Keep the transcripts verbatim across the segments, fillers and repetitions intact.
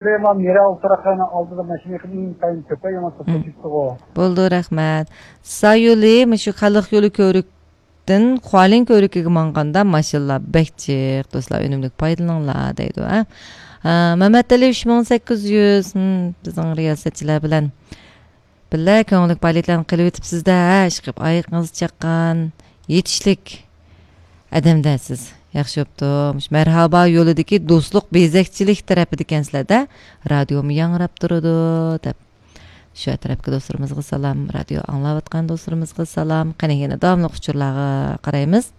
مېرا ئولتۇراقلارنىڭ ئالدىدا ماشىنا يېقىن ئىنتايىن كۆپ، يامان توسۇپ كېتىپتىغۇ. بولدى، رەھمەت. سايولى مۇشۇ خەلق يولى كۆۋرۈكتىن خۇالىن كۆۋرۈكىگە ماڭغاندا ماشىنىلار بەك جىق، دوستلار، ئۈنۈملۈك پايدىلىنىڭلار دەيدۇ، ھە. ھە، مەمەتئەلى ئۈچ مىڭ سەككىز يۈز، ھىم، بىزنىڭ رىياسەتچىلەر بىلەن بىللە كۆڭۈللۈك پائالىيەتلەرنى قىلىۋېتىپسىز-دە، ھە، ئىشقىلىپ ئايىقىڭىز چاققان، يېتىشلىك ئادەم-دە سىز. ياخشى بوپتۇ. مۇشۇ مەرھابا يولىدىكى دوستلۇق بېزەكچىلىك تەرىپىدىكەنسىلەر-دە، رادىيومۇ ياڭراپ تۇرىدۇ، دەپ. شۇ ئەتراپتىكى دوستلىرىمىزغا سالام، رادىيو ئاڭلاۋاتقان دوستلىرىمىزغا سالام. قېنى، يەنە داۋاملىق ئۇچۇرلارغا قارايمىز.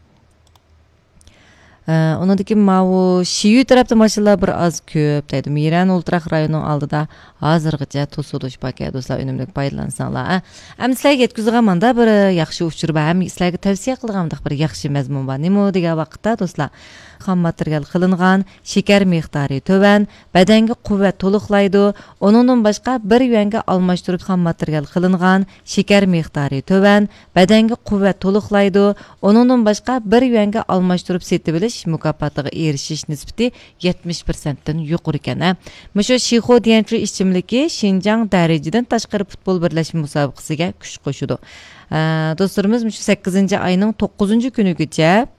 ئە، ئۇنىڭدىن كېيىن ماۋۇ شىيۈ تەرەپتە ماشىنىلار بىر ئاز كۆپ دەيدۇ. مىرەن ئولتۇراق رايونىنىڭ ئالدىدا ھازىرغىچە توسۇلۇش باركەن، دوستلار، ئۈنۈملۈك پايدىلانساڭلار، ئە. ئەمدى سىلەرگە يەتكۈزىدىغان ماندا بىر ياخشى ئۇچۇر بار ھەم سىلەرگە تەۋسىيە قىلىدىغان مۇنداق بىر ياخشى مەزمۇن بار. نېمە دېگەن ۋاقىتتا، دوستلار، خام ماتېرىيال قىلىنغان، شېكەر مىقدارى تۆۋەن، بەدەنگە قۇۋۋەت تولۇقلايدۇ. ئۇنىڭدىن باشقا، بىر يۈەنگە ئالماشتۇرۇپ خام ماتېرىيال قىلىنغان، شېكەر مىقدارى تۆۋەن، بەدەنگە قۇۋۋەت تولۇقلايدۇ. ئۇنىڭدىن باشقا، بىر يۈەنگە ئالماشتۇرۇپ سېتىۋېلىش مۇكاپاتىغا ئېرىشىش نىسبىتى يەتمىش پىرسەنتتىن يۇقىرىكەن، ھە. مۇشۇ شىخۇ ديەنچۈ ئىچىملىكى شىنجاڭ دەرىجىدىن تاشقىرى پۇتبول بىرلەشمە مۇسابىقىسىگە كۈچ قوشىدۇ. ئە، دوستلىرىمىز، مۇشۇ سەككىزىنچى ئاينىڭ توققۇزىنچى كۈنىگىچە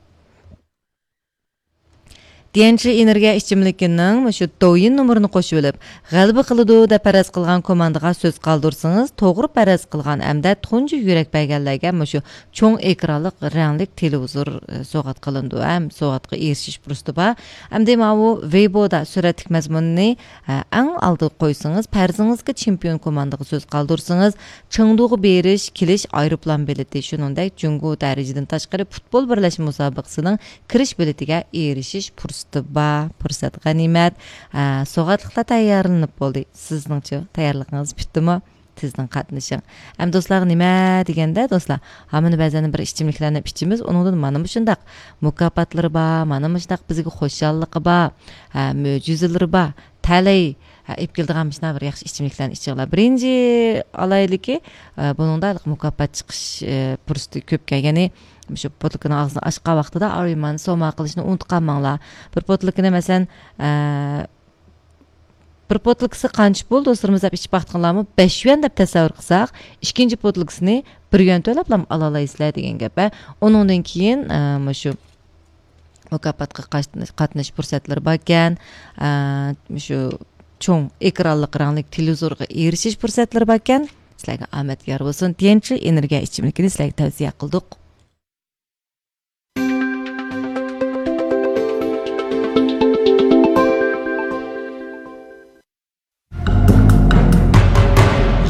ديەنچى ئېنېرگىيە ئىچىملىكىنىڭ مۇشۇ دويىن نومۇرىنى قوشۇۋېلىپ، غەلىبە قىلىدۇ دەپ پەرەز قىلغان كوماندىغا سۆز قالدۇرسىڭىز، توغرا پەرەز قىلغان ھەمدە تۇنجى يۈرەك بەرگەنلەرگە مۇشۇ چوڭ ئېكرانلىق رەڭلىك تېلېۋىزور، ئە، سوۋغات قىلىنىدۇ ھەم سوۋغاتقا ئېرىشىش پۇرسىتى بار. ئەمدى ماۋۇ ۋېيبودا سۈرەتلىك مەزمۇننى، ئە، ئەڭ ئالدىغا قويسىڭىز، پەرىزىڭىزگە چېمپىيون كوماندىغا سۆز قالدۇرسىڭىز، چېڭدۇغا بېرىش، كېلىش ئايروپىلان بېلىتى، شۇنىڭدەك جۇڭگو دەرىجىدىن تاشقىرى پۇتبول بىرلەشمە مۇسابىقىسىنىڭ كىرىش بېلىتىگە ئېرىشىش پۇرسىتى بار. پۇرسەت غەنىيمەت. ئە، سوغاتلىقلار تەييارلىنىپ بولدى. سىزنىڭچۇ، تەييارلىقىڭىز پۈتتىمۇ؟ تېزدىن قاتنىشىڭ. ئەمدى دوستلارغا نېمە دېگەندە، دوستلار، ھامىنى بەزەن بىر ئىچىملىكلەرنى ئىچىمىز، ئۇنىڭدىن مانا مۇشۇنداق مۇكاپاتلىرى بار، مانا مۇشۇنداق بىزگە خۇشاللىقى بار، ھە، مۆجىزىلىرى بار. تەلەي، ھە، ئېلىپ كېلىدىغان مۇشۇنداق بىر ياخشى ئىچىملىكلەرنى ئىچىڭلار. بىرىنچى ئالايلىكى، ئە، بۇنىڭدا ھېلىقى مۇكاپات چىقىش، ئە، پۇرسىتى كۆپكەن. يەنى مۇشۇ پوتۇلكىنىڭ ئاغزىنى ئاچقان ۋاقتىدا ئارىمان سوما قىلىشنى ئۇنتۇپ قالماڭلار. بىر پوتۇلكىنى، مەسىلەن، ئە، بىر پوتۇلكىسى قانچە پۇل، دوستلىرىمىز، دەپ ئىچىپ باقتىڭلارمۇ؟ بەش يۈەن دەپ تەسەۋۋۇر قىلساق، ئىككىنچى پوتۇلكىسىنى بىر يۈەن تۆلەپلا ئالالايسىلەر دېگەن گەپ، ھە. ئۇنىڭدىن كېيىن، ئە، مۇشۇ مۇكاپاتقا قاتنىش-، قاتنىشىش پۇرسەتلىرى باركەن، ئە، مۇشۇ چوڭ ئېكرانلىق رەڭلىك تېلېۋىزورغا ئېرىشىش پۇرسەتلىرى باركەن. سىلەرگە ئامەت يار بولسۇن. تيەنچى ئېنېرگىيە ئىچىملىكىنى سىلەرگە تەۋسىيە قىلدۇق.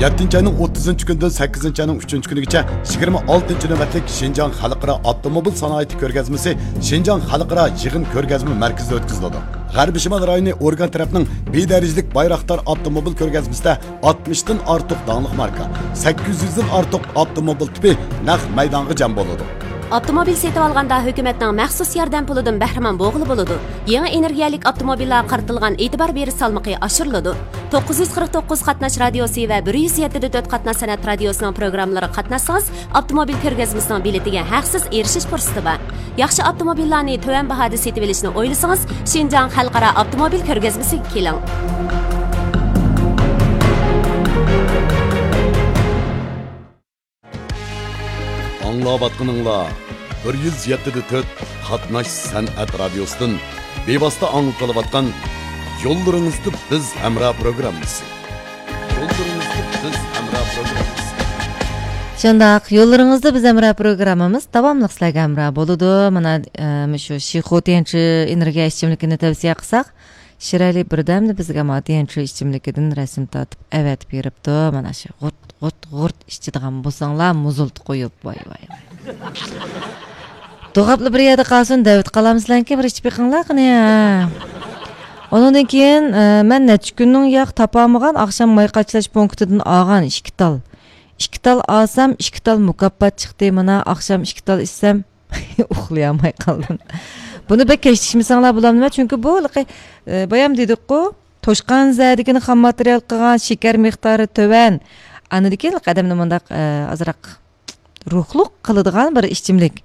يەتتىنچى ئاينىڭ ئوتتۇزىنچى كۈنىدىن سەككىزىنچى ئاينىڭ ئۈچىنچى كۈنىگىچە يىگىرمە ئالتىنچى نۆۋەتلىك شىنجاڭ خەلقئارا ئاپتوموبىل سانائىتى كۆرگەزمىسى شىنجاڭ خەلقئارا يىغىن كۆرگەزمە مەركىزىدە ئۆتكۈزۈلىدۇ. غەربىي شىمال رايونى ئورگان تەرەپنىڭ بى دەرىجىلىك بايراقدار ئاپتوموبىل كۆرگەزمىسىدە ئاتمىشتىن ئارتۇق داڭلىق ماركا، سەككىز يۈزدىن ئارتۇق ئاپتوموبىل تىپى نەق مەيدانغا جەم بولىدۇ. ئاپتوموبىل سېتىۋالغاندا ھۆكۈمەتنىڭ مەخسۇس ياردەم پۇلىدىن بەھرىمەن بولغىلى بولىدۇ. يېڭى ئېنېرگىيەلىك ئاپتوموبىللارغا قارىتىلغان ئېتىبار بېرىش سالمىقى ئاشۇرۇلىدۇ. توققۇز يۈز قىرىق توققۇز قاتناش رادىيوسى ۋە بىر يۈز يەتتە دە تۆت قاتناش سەنئەت رادىيوسىنىڭ پروگراممىلىرىغا قاتناشسىڭىز، ئاپتوموبىل كۆرگەزمىسىنىڭ بېلىتىگە ھەقسىز ئېرىشىش پۇرسىتى بار. ياخشى ئاپتوموبىللارنى تۆۋەن باھادا سېتىۋېلىشنى ئويلىسىڭىز، شىنجاڭ خەلقئارا ئاپتوموبىل كۆرگەزمىسىگە كېلىڭ. ئاڭلاۋاتقىنىڭلار بىر يۈز يەتتە دە تۆت قاتناش سەنئەت رادىيوسىدىن بىۋاسىتە ئاڭلىتىلىۋاتقان يوللىرىڭىزدا بىز ھەمراھ پروگراممىسى. يوللىرىڭىزدا بىز ھەمراھ پروگراممىسى. شۇنداق، يوللىرىڭىزدا بىز ھەمراھ پروگراممىمىز داۋاملىق سىلەرگە ھەمراھ بولىدۇ. مانا، ئە، مۇشۇ شىخۇ تيەنچى ئېنېرگىيە ئىچىملىكىنى تەۋسىيە قىلساق، شىرئەلى بىردەمدە بىزگە ما تيەنچى ئىچىملىكىدىن رەسىم تارتىپ ئەۋەتىپ بېرىپتۇ. مانا شۇ غۇرت، غۇرت، غۇرت ئىچىدىغان بولساڭلار، مۇزۇلتۇ قويۇپ، ۋاي، ۋاي، ۋاي. دوغاپلا بىر يەردە قالسۇن، دەۋېتىپ قالامسىلەركى، بىر ئىچىپ بېقىڭلار قېنى، ھە. ئۇنىڭدىن كېيىن، ئە، مەن نەچچە كۈننىڭ ياق تاپالمىغان ئاخشام ماي قاچىلاش پونكىتىدىن ئالغان ئىككى تال. ئىككى تال ئالسام، ئىككى تال مۇكاپات چىقتى. مانا ئاخشام ئىككى تال ئىچسەم، ئۇخلىيالماي قالدىم. بۇنى بەك كەچ ئىچمىسەڭلار بولامدىمەن، چۈنكى بۇ ھېلىقى، ئە، بايام دېدۇققۇ، توشقان زەدىكىنى خام ماتېرىيال قىلغان، شېكەر مىقدارى تۆۋەن. ئاندىن كېيىن ئادەمنى مۇنداق، ئە، ئازراق روھلۇق قىلىدىغان بىر ئىچىملىك.